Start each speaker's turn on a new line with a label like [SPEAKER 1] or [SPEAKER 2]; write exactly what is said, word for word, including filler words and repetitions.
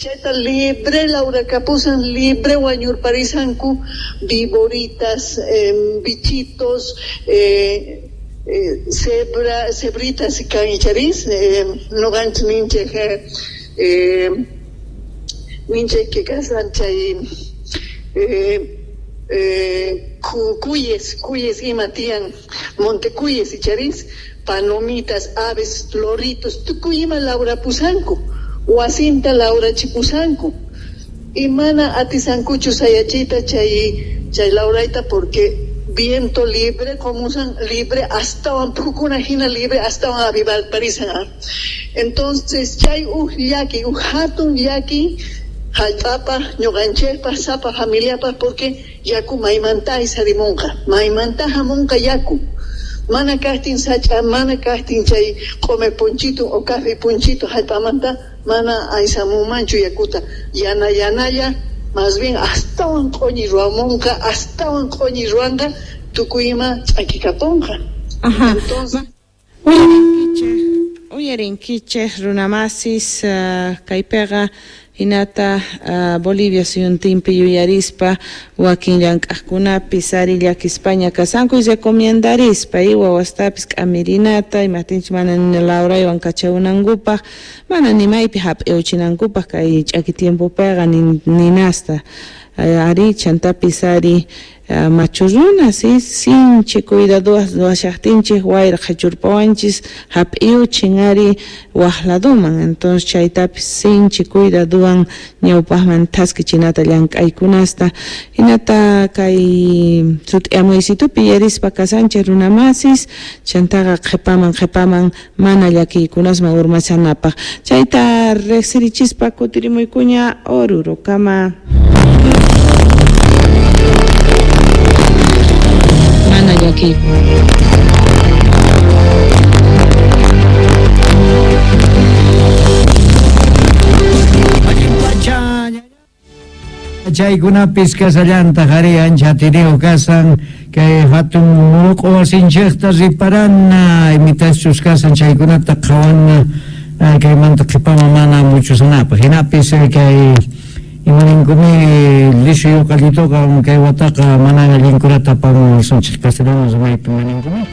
[SPEAKER 1] Chayta libre lawrakapusan, libre wañurparisanku viboritas, eh, bichitos, eh, eh, cebra, cebritas kan icharis, eh, nuqanchik ninchik eh, ninchik que kasan chay eh, eh, cuyes, cuyes ima tiyan, montecuyes icharis, palomitas, aves, loritos, tukuy ima lawrapusanku, wasinta lawrachipusanku, y mana atisankuchu sayachita chay chay lawrayta porque viento libre, como usan libre, hasta phukuna hina libre, hasta avivalparisan. Entonces, chay uj llaki, uj hatun llaki, hallp'apa, ñuqanchikpa, sapa familiapa, porque yaku maymanta aysarimunqa, maymanta hamunqa yaku. Mana kaqtin sach'a, mana kaqtin chay q'umer punchitu o café punchitu hallp'amanta mana aysamunmanchu yakuta. Yana yanalla, más bien astawan q'uñi ruwamunqa, astawan q'uñi ruwanqa, tukuy ima ch'akikapunqa.
[SPEAKER 2] Ajá.
[SPEAKER 1] Entonces,
[SPEAKER 2] uyarinkichik, uyarinkichik runamasis uh, kaypiqa hinata uh, Bolivia suyuntinpi yuyarispa wakin llank'aqkunapis ari llakispaña kasanku y recomendarispa y wawastapis k'amirinata imaptinchik mana ni lawraywan kachawunankupaq mana ni maypi hap'iwchinankupaq kay ch'aki tiempopiqa ninasta ari chantapis ari uh, machu runa si sinchi cuidaduas ruwashaqtinchik wayra qhichurpawanchis hap'iwchin ari waq laduman entonces chaytapis sinchi cuidaduwan ñawpaqman thaskichinata llank'aykunasta hinata kay sut'iamuysitupi yarispa kasanchik runamasis chantaqa qhipaman qhipaman mana llakiykunasman urmashanapaq chayta riqsirichispa kutirimuykuña Orurokama. Mana llaki.
[SPEAKER 3] Chaykunapis kasallantaq ari ancha atiniyuq kasan kay hatun muruq'u wasinchikta riparana imitachus kasan chaykunata qhawana kaymanta qhipaman mana muchusanapaq hinapis kay imaninkumi lishu yuqallituqa kay wataqa mana allinkunata apamuwasunchik castellano rimaypi maninkumi.